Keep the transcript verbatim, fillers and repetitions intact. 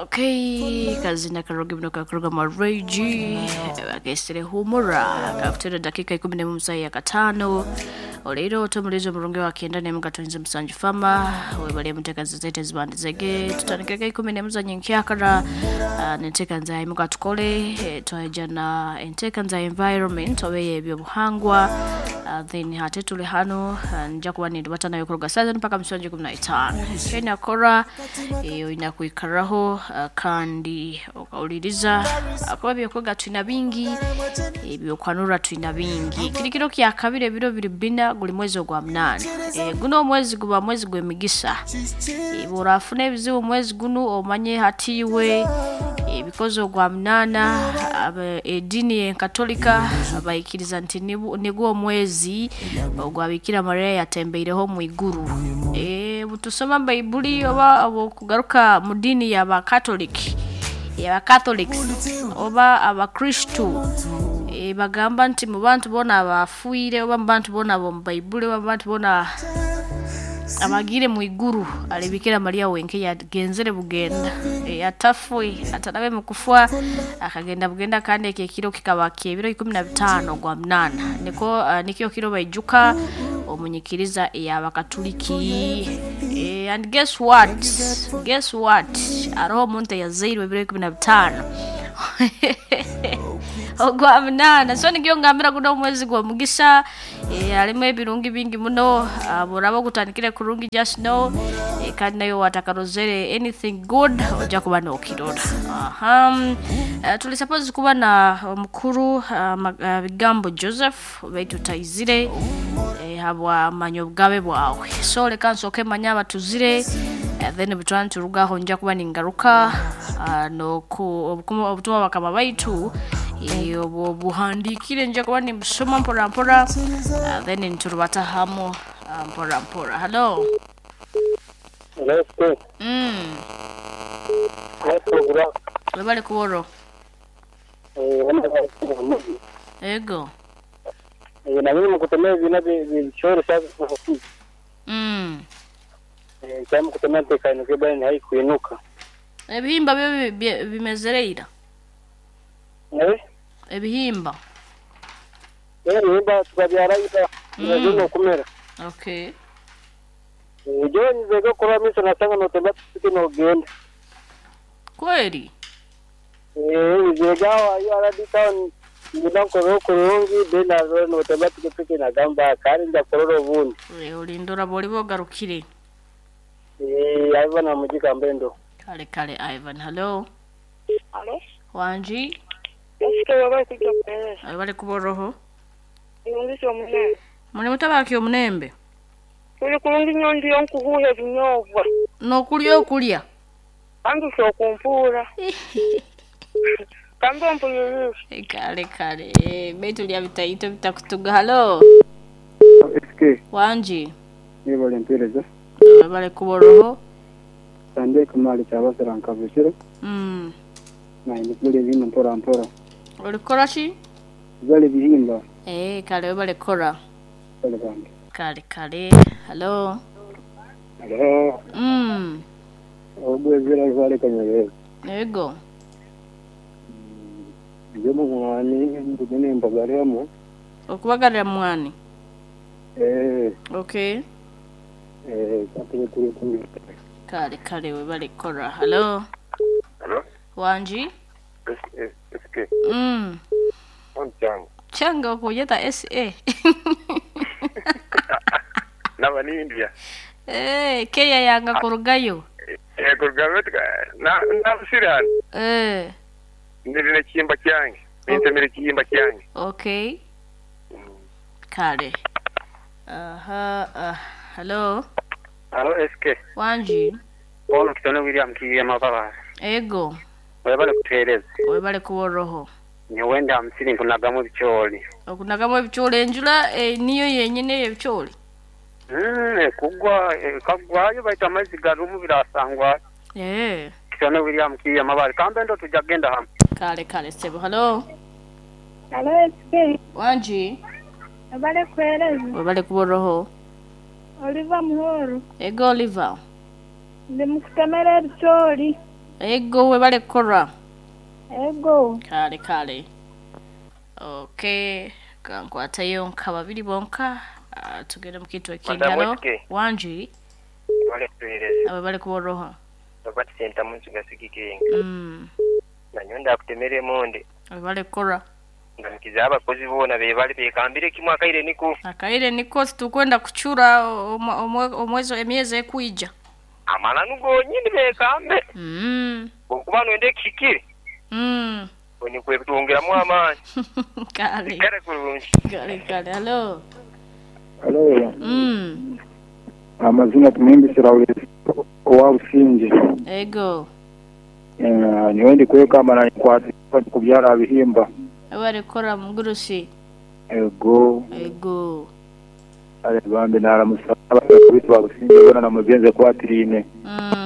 Okay, kazina karoge muno kakuruga mareji bakesere humura kakutera dakika ikumi n'emu musayi ya katano olero tomulizo omurungi wa kenda n'emu katonze musanju fama webale muteka zizete zibandizege tutandikireko ikumi n'emu za nyenkyakara uh, n'enteeka nza imuka tukole eh, twaija na enteeka nza environment oba ebyobuhangwa uh, then hate tuli hano uh, nja kuba nindubata nayo kuruga saa mpaka musanju ikumi na itaano kyenakora eh, olina kwikaraho uh, kandi okawuliriza kuba byokwega tulina bingi ebyokwanura tulina bingi kiri kiro kya kabiri ebiro biri bina guli mwezi ogwa munaana e, guno omwezi guba mwezi gw'emigisa e, bw'orafuna ebizibu omwezi guno omanye hatiiwe ebikozi ogwa munaana eddiini enkatolika bayikiriza nti nigwo omwezi ogwa Bikira Maria yatembeireho mu iguru e, butusoma Baibuli oba okugaruka mu ddiini y'abakatoliki y'abakatholics oba abakristu e, bagamba nti mu bantu bona abafiire oba mu bantu bona ab'omu Baibuli oba mu bantu bona abagire mu iguru ali Bikira Maria wenke yagenzere bugenda e, atafwe atarabe mu kufa akagenda bugenda kandi ekyo ekiro kikaba kyebiro ikumi na bitaano gwa munana niko uh, nikyo kiro baijuka omunyikiriza ey'abakatuliki e, and guess what guess what aroho omuntu eyazairwe ebiro ikumi na bitaano ogwa munana so nikyo ngambira guno omwezi gwa mugisa e, harimu ebirungi bingi muno uh, buraba ogutandikire kurungi just know e, kandi nayo watakarozere anything good ojja kuba nokirora aha uh, tuli suppose kuba na omukuru uh, uh, bigambo Joseph baitu taizire e, habwa manya obugabe bwawe so leka nsooke manye abatuzire uh, then butwana turugaho nja kuba ningaruka uh, noku obutumwa bakama baitu obwo buhandikire nja kuba nimbusoma mpora mpora uh, then nturubata hamu uh, mpora mpora. Hello. Hello. Mm. Webale kuworo. Ego. Eh, na mimi mkutemea vina vichoro sasa. Mm. Eh, kama kutemea tekano bani haikuinuka. Ebihimba byo bimezereira. Eh? Ebihimba. Eh, ebihimba tukabyara ita. Mm. Kumera. Okay. Ejo nzego kora miso nasanga notemba tupike no genda. Kweli? Eh, nzega wa aradi town nibanko kurungi bena notemba tupike na gamba kandi ndakorora obundi. Eh, ulindora boli bogarukire. Eh, Ivan amujika mbendo. Kale kale Ivan. Hello. Hello. Wanji. Eske wabali kujja kupereza. Wabali kuboroho. Irungisi omunembe. Muli mutabaki omunembe. Tuli kulungi nnyo ndiyo nkuhuha ebinyoobwa. N'okulya okulya. Anduse okumpuura. Kambe ompulirize. Kale kale. Baitu lya bitaito bitakutuga. Hello. Eske. Wanji. Nibale mpereza. Wabali kuboroho. Sande kumali kyabasira nkabukiro. Mm. Na imikule bino mpora mpora. Olikora ki? Bali bihimba. Eh, kale webale kora. Kale bange. Kale kale. Hello. Hello. Mm. Ogwezera vale kanyere. Ego. Ndiyo mwani ndugene mbagaremo. Okubagarira mwani. Eh. Okay. Eh, kapere kuri kuri. Kale kale webale kora. Hello. Hello. Wanji. S K. Mm. Changa. Changa okuyeta S A. Naba ni India. Eh, Kenya yanga kurugayo. Eh, kurugayo na na sirani. Eh. Ndine chimba kyange. Nintemere chimba kyange. Okay. Kale. Aha, uh, hello. Hello S K. Wanji. Ono kitone William kiye mababa. Ego. Webale kutereza. Webale kuworoho. Niwenda hamsini nkunagamu ebicooli. Okunagamu ebicooli enjula eh, niyo yenyine ebicooli. Mm, kugwa eh, kagwayo baita amazzi garumu birasangwa. Eh. Kitone William kiye mababa. Kambe ndo tujja genda hamwe. Kale kale sebo. Hello. Hello S K. Wanji. Webale kuhereza. Webale kuworoho. Oliver Muhoro. Ego Oliver. Ndi mukutemera ebicooli. Ego webale kukora. Ego. Kale kale. Okay, kankwatayo nka babiri bonka. Uh, tugende mu kitu Madam ekindalo. Wetke. Wangi Wale tuhereza abo bali kuboroha. Robert Sentamu nsigasigike Mm. nanyo ndakutemera emonde Abo bali kukora. ngamikiza abakozi boona bebali bekambire kimwe akaire niko Akaire niko tukwenda kuchura omwe- omwe- omwezi emyezi ekwija. amananu gonyini bekambe Mm. okuba nwende ekihikire Mm. onikwetwongeramu amaani Kale. kare kurungi Kale kale. Hello. Hello. Mm. Amazina tumwimbisira owa Businge. Ego. Eh, niwe ndi kwekamba na nkwata kubyara bihimba. Abo bali kukora mugurusi. Ego. Ego. Ale bambi naramusaba bitu ba Businge bona na mugenze kwatirine. Mm.